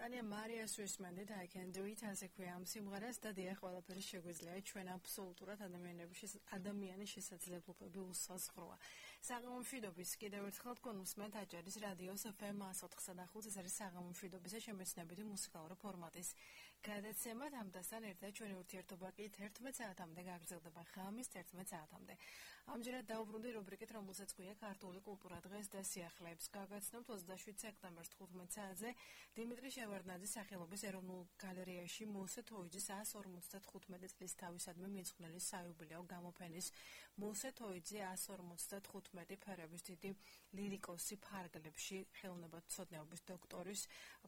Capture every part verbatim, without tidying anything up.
Tania Maria Suismendit, I can do it as a quiam simgaras და დიახ ყველაფერი შეგვიძლია ჩვენ აბსოლუტურად ადამიანებში ადამიანის შესაძლებლობები უსაზღროა. საღამომშვიდობის კიდევ ერთხელ თქვენ უსმენთ აჭარის რადიოს ეფ ემ εκατს ოთხსა და ხუთს, ეს არის საღამომშვიდობისა შემეცნებითი მუსიკალური ფორმატის გადაცემა. ამასთან ერთად ჩვენი ურთიერთობა კი თერთმეტ საათამდე გაგრძელდება ღამის თერთმეტ საათამდე. ამჯერად დაუბრუნდი რუბრიკით, რომელსაც ქვია ქართული კულტურა დღეს და სიახლეებს. გაგაცნობთ ოცდაშვიდ სექტემბერს თხუთმეტ საათზე დიმიტრი შევარდნაძის სახელობის ეროვნულ გალერეაში მოსე თოიძის εκას ორმოცდათხუთმეტი წლის თავისადმი მიძღვნილი საიუბილეო გამოფენის მოსე თოიძე εκას ორმოცდათხუთმეტი ფერების დიდი ლირიკოსი ფარგლებში ხელოვნებათმცოდნეობის დოქტორის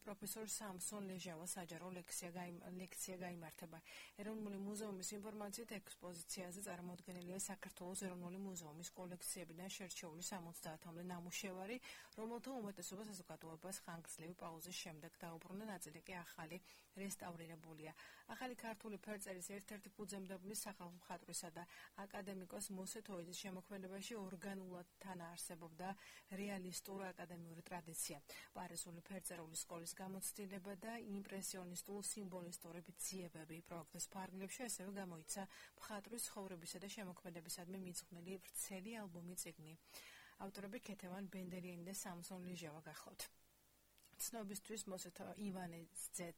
პროფესორ სამსონ ლეჟავას საჯარო ლექცია ლექცია გაიმართება. ეროვნული მუზეუმის ინფორმაციით ექსპოზიციაზე წარმოდგენილია საქართველოს ეროვნული მუზეუმის კოლექციებიდან შერჩეული სამოცდაათამდე ნამუშევარი, რომელთა უმეტესობა საზოგადოებას ხანგრძლივი პაუზის შემდეგ დაუბრუნდა, ნაწილი კი ახალი რესტავრირებულია. ახალი ქართული ფერწერის ერთ-ერთი ფუძემდებელი სახალხო მხატვრისა და აკადემიკოს მოსე თოიძის შემოქმედებაში ორგანულად თანაარსებობდა რეალისტურ აკადემიური ტრადიცია. პარიზული ფერწერული სკოლის გამოცდილება და იმპრესიონისტულ სიმბოლისტური ძიებები პროექტის ფარგლებში ასევე გამოიცა მხატვრის ცხოვრებისა და შემოქმედებისადმი მიძღვნილი ვრცელი ალბომი წიგნი. ავტორები ქეთევან ბენდერიანი და სამსონ ლეჟავა გახლავთ. ცნობისთვის მოსე ივანე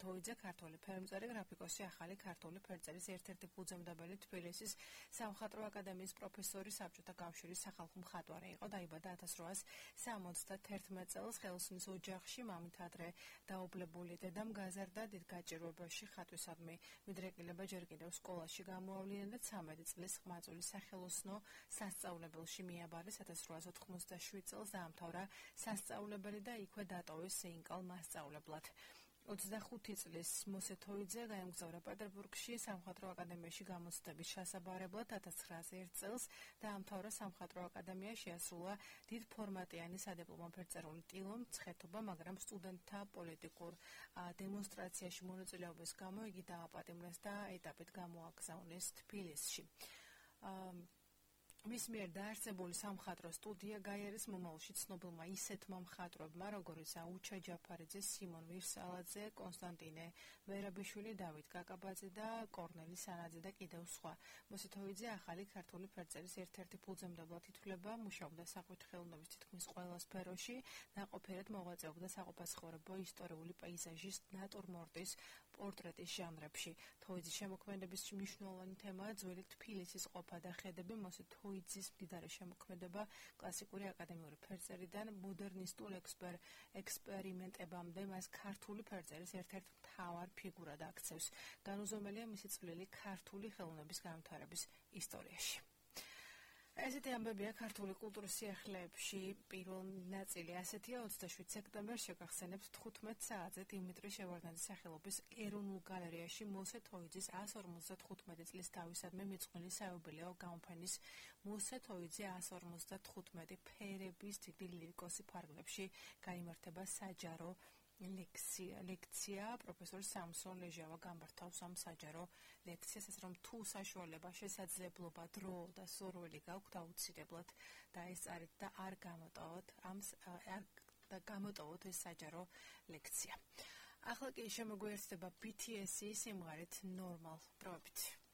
თოიძე ქართული ფერმწერი, გრაფიკოსი, ახალი ქართული ფერწერის ერთ-ერთი ფუძემდებელი, თბილისის სამხატვრო აკადემიის პროფესორი, საბჭოთა კავშირის სახალხო მხატვარი იყო. დაიბადა ათას რვაას სამოცდათერთმეტ წელს ხელოსნის ოჯახში. მამით ადრე დაობლებული დედამ გაზარდა დიდ გაჭირვებაში ხატვისადმი მიდრეკილება ჯერ კიდევ სკოლაში გამოავლინა და ცამეტი წლის ყმაწვილი სახელოსნო სასწავლებელში მიაბარეს. ათას რვაას ოთხმოცდაშვიდ წელს დაამთავრა სასწავლებელი და იქვე დატოვეს სეინკალ მასწავლებლად. ოცდახუთი წლის მოსე თოიძე გაემგზავრა პეტერბურგში სამხატვრო აკადემიაში გამოცდების ჩასაბარებლად. ათას ცხრაას ერთ წელს დაამთავრა სამხატვრო აკადემია, შეასრულა დიდფორმატიანი სადიპლომო ფერწერული ტილო მცხეთობა, მაგრამ სტუდენტთა პოლიტიკურ დემონსტრაციაში მონაწილეობის გამო იგი დააპატიმრეს და ეტაპით გამოაგზავნეს თბილისში. მის მიერ დაარსებული სამხატვრო სტუდია გაიარეს მომავალში ცნობილმა ისეთმა მხატვრებმა, როგორიც აუჩა ჯაფარიძე, სიმონ ვირსალაძე, კონსტანტინე მერაბიშვილი, დავით კაკაბაძე და კორნელი სანაძე და კიდევ სხვა. მოსე თოიძე ახალი ქართული ფერწერის ერთ-ერთი ფუძემდებლად ითვლება, მუშაობდა საყვით ხელოვნების თითქმის ყველა სფეროში, ნაყოფიერად მოღვაწეობდა საყოფაცხოვრებო, ისტორიული პეიზაჟის, ნატურმორტის, პორტრეტის ჟანრებში. თოიძის შემოქმედების მნიშვნელოვანი თემაა ძველი თბილისის ყოფა და ხედები. მოსე თოიძის მდიდარი შემოქმედება კლასიკური აკადემიური ფერწერიდან მოდერნისტულ ექსპერ ექსპერიმენტებამდე მას ქართული ფერწერის ერთ-ერთ მთავარ ფიგურად აქცევს. განუზომელია მისი წვლილი ქართული ხელოვნების განვითარების ისტორიაში. ესეთი ამბებია ქართული კულტურის სიახლეებში. პირველ ნაწილი ასეთია. ოცდაშვიდ სექტემბერს შეგახსენებთ თხუთმეტ საათზე დიმიტრი შევარდნაძის სახელობის ეროვნულ გალერეაში მოსე თოიძის εκას ორმოცდათხუთმეტი წლის თავისადმი მიძღვნილი საიუბილეო გამოფენის მოსე თოიძე εκას ორმოცდათხუთმეტი ფერების დიდი ლირიკოსი ფარგლებში გაიმართება საჯარო ლექცია ლექცია პროფესორ სამსონ ლეჟავა გამართავს ამ საჯარო ლექციას, ასე რომ თუ საშუალება, შესაძლებლობა, დრო და სურვილი გაქვთ, აუცილებლად დაესწარით და არ გამოტოვოთ ამ და გამოტოვოთ ეს საჯარო ლექცია. ახლა კი შემოგვიერთდება ბი თი ესი სიმღერით Normal პროექტი.